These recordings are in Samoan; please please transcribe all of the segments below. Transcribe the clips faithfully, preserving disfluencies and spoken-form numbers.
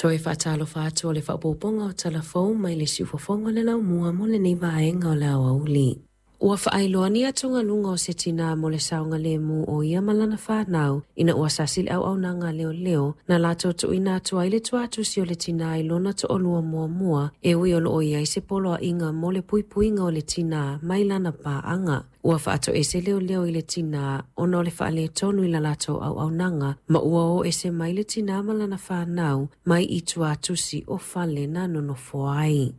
Toe faatalofa atu o le faaopoopoga o Tala Fou mai le siufofoga o le laumua mo lenei vaega o le aoauli. Ua faailoa ni atugaluga o se tinā mo le saogalemu o ia ma lana fanau ina ua sasi le auaunaga a leoleo na latou tuuina atu ai le tuatusi o le tinā i lona toalua muamua e ui o loo i ai se poloaiga mo le puipuiga o le tinā mai lana paaga. Ua faatoese leoleo i le tinā ona o le faaletonu i la latou auaunaga ma ua o ese mai le tinā ma lana fanau mai i tuatusi o fale na nonofo ai.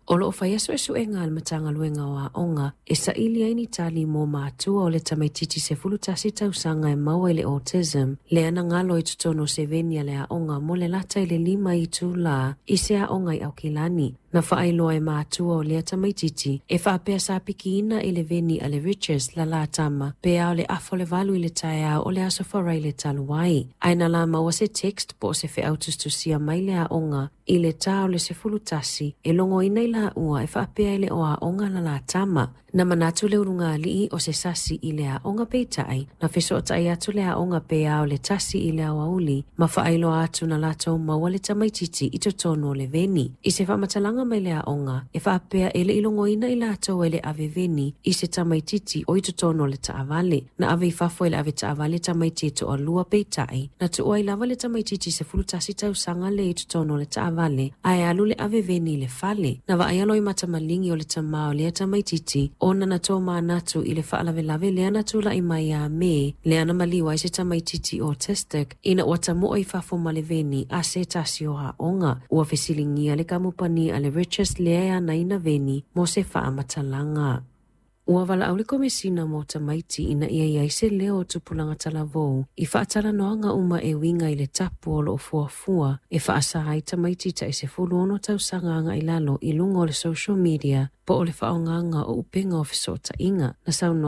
O loo faia suesuega a le Matagaluega o Aoga e saili ai ni tali mo matua o le tamaititi sefulu tasi tausaga e maua i le autism lea na galo i totonu o se veni a le aoga mo le lata i le lima itulā i se aoga i Aukilani. Na faailoa e matua o lea tamaititi e faapea sa pikiina i le veni a le Riches la latama pe ao le afa o le valu i le taeao o le aso Faraile talu ai. Ae na la maua se text po o se feau tusitusia mai le aoga i le tā o le sefulu tasi e logoina i laua e faapea e le o aoga la latama. Na manatu le ulugalii o se sasi i le aoga peitai, na fesootai atu le aoga pe ao le tasi i le aoauli, ma faailoa atu na latou maua le tamaititi i totonu o le veni. I se faamatalaga mai le aoga, e faapea e le i logoina i latou e le ave veni i se tamaititi o i totonu o le taavale. Na ave i fafo e le ave taavale tamaiti e toalua peitai, na tuua ai lava le tamaititi sefulu tasi tausaga le i totonu o le taavale, ae alu le ave veni i le fale. Na vaaia loimata maligi o le tamā o lea tamaititi, ona na tomanatu i le faalavelave lea na tulai mai ia Me, lea na maliu ai se tamaititi autistic, ina ua tamoe i fafo ma le veni a se tasi o aoga. Ua fesiligia le kamupani a le Riches lea e anaina veni mo se faamatalaga. Ua valaau le Komesina mo Tamaiti ina ia i ai se leo o tupulaga talavou i faatalanoaga uma e uiga i le tapu o loo fuafua e faasa ai tamaiti tai sefulu ono tausaga agai i lalo i luga o le social media po o le faaaogaga o upega o fesootaiga. Na saunoa